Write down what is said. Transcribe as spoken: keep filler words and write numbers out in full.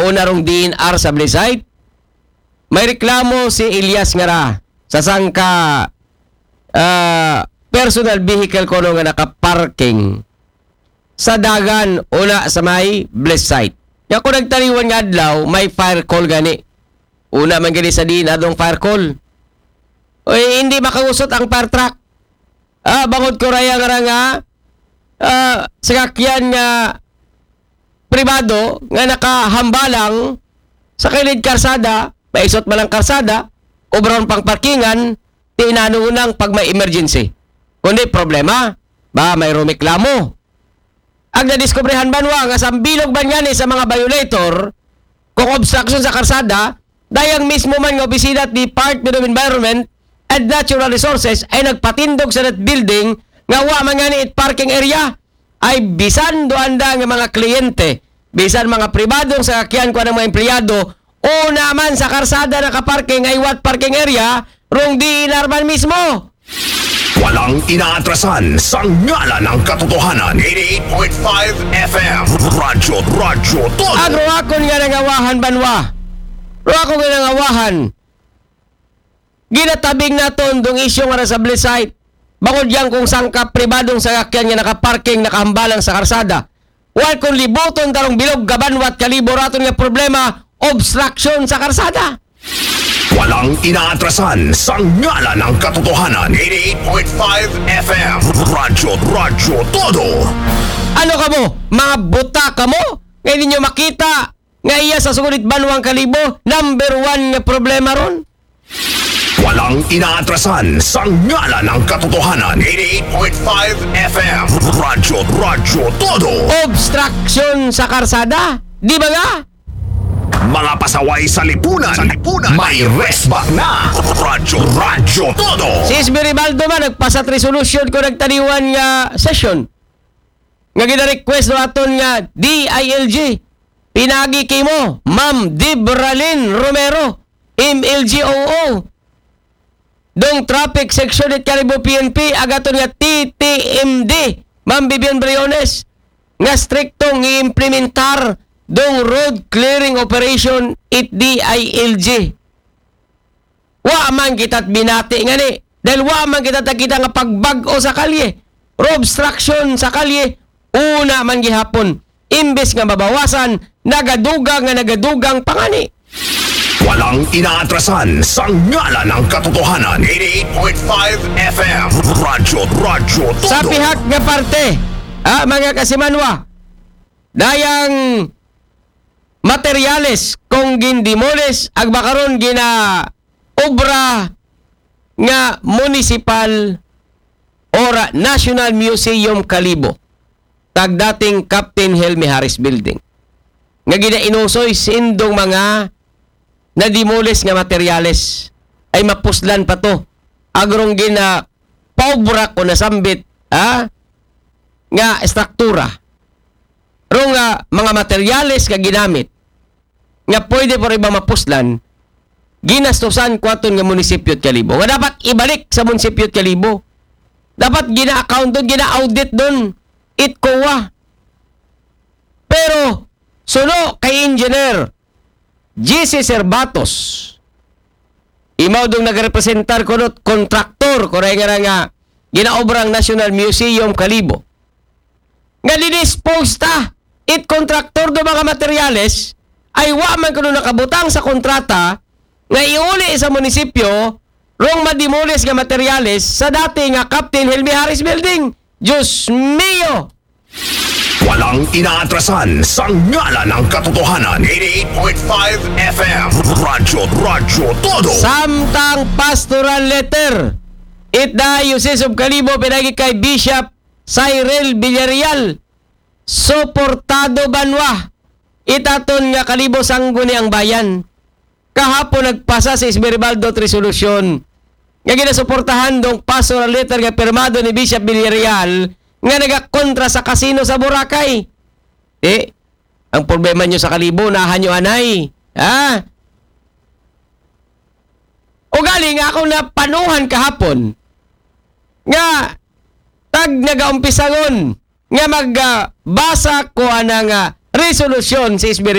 Una rong D N R sa Blissite, may reklamo si Elias Ngara sa sangka ah, personal vehicle kuno nga nakaparking sa dagan una sa may Blissite. Nga kung nagtaliwan nga adlaw, may fire call gani. Una man gani sa D N R dong fire call. Oy, hindi makausot ang fire truck. Ah, bangod ko raya nga ra nga, ah, sakakyan nga pribado nga nakahambalang sa kilid karsada, maisot man ang karsada, obra rong pangparkingan, ti nano unang pag may emergency. Kundi problema, ba may rumeklamo. Ang nadiskubrehan banwa nga sambilog man ngani sa mga violator, kung obstruction sa karsada, dayang mismo man nga opisina at Department of Environment and Natural Resources ay nagpatindog sa that building nga wa man ngani it parking area. Ay bisan do anda nga mga kliyente, bisan mga pribadong sakakyan kuno ang mga empleyado, una man sa karsada nakaparking ay what parking area, rong D N R man mismo. Walang inaatrasan sa ngalan ng katotohanan. eighty-eight point five F M. Radyo, Radyo Todo. Ang ruwakon nga nangawahan banwa. Ruwakon nga nangawahan. Ginatabing naton dong isyu nga ra sa Blissite. Bangod yang kung sangka pribadong sakakyan nga nakaparking nakahambalang sa karsada. Wal kung libuton tarong bilog kabanwat kalibo raton nga problema, obstruction sa karsada. Walang inaatrasan sa ngalan ng katotohanan. eighty-eight point five F M. Radyo, Radyo Todo. Ano kamo? Mga buta kamo? Nga ninyo makita nga iya sa sugod it banwang kalibo, number one nga problema ron. Walang inaatrasan sa ngalan ng katotohanan. eighty-eight point five F M. Radyo, Radyo Todo. Obstruction sa karsada. Di ba nga? Mga pasaway sa lipunan. Sa lipunan. May resback na. Radyo, Radyo Todo. Si S B Ribaldo man nagpasat resolution ko nagtaliwan nga session. Nga gina-request do aton nga D I L G. Pinagi kimo, Ma'am Debralyn Romero, M L G O O. Dong traffic section it Kalibo P N P, agaton nga T T M D, Ma'am Vivian Briones, nga striktong i-implementar dong road clearing operation it D I L G. Wa man kita't binati ngani. Dahil wa man kita't nakita nga pagbag-o sa kalye. Ro obstruction sa kalye, una man gihapon. Imbes nga mabawasan, nagadugang nga nagadugang pa ngani. Walang inaatrasan sa ngalan ng katotohanan. eighty-eight point five F M. Radyo, Radyo Todo. Sa pihak nga parte, ah, mga kasimanwa, dayang materyales kung gindemoles, agba karon gina obra nga municipal or National Museum Kalibo, tag dating Captain Helmi Harris Building, nga ginainusoy sindong mga nademoles nga materyales ay mapuslan pa to. Agrong gina paubra ko nasambit, ha? Nga estruktura. Rong nga mga materyales nga ginamit nga pwede pa rin ba mapuslan, ginastusan ko aton nga munisipyo at Kalibo. Nga dapat ibalik sa munisipyo at Kalibo. Dapat gina-account doon, gina-audit doon. It COA. Pero, suno kay Engineer G C Servatos, imaw dong nagrepresentar ko do't kontraktor, ko rin nga nga ginaobrang National Museum Kalibo. Nga didispose ta, it kontraktor do mga materyales, ay wa man kuno nakabutang sa kontrata, nga iuli sa munisipyo, rong mademoles nga materyales sa dati nga Captain Helmi Harris Building. Diyos mio! Walang inaatrasan sa ngalan ng katotohanan. eighty-eight point five F M. Radyo, Radyo Todo. Samtang pastoral letter, it Diocese of Kalibo, pinagi kay Bishop Cyril Villarreal, suportado banwa, it aton nga Kalibo Sangguniang Bayan. Kahapon nagpasa si Esmeribaldo at resolusyon nga ginasuportahan dong pastoral letter nga pirmado ni Bishop Villarreal nga nagakontra sa kasino sa Boracay. Eh, ang problema nyo sa Kalibo, nahan nyo anay. Ha? O galing nga akong napanuhan kahapon nga tag nagaumpisangon nga magbasa ko ana nga resolusyon si S B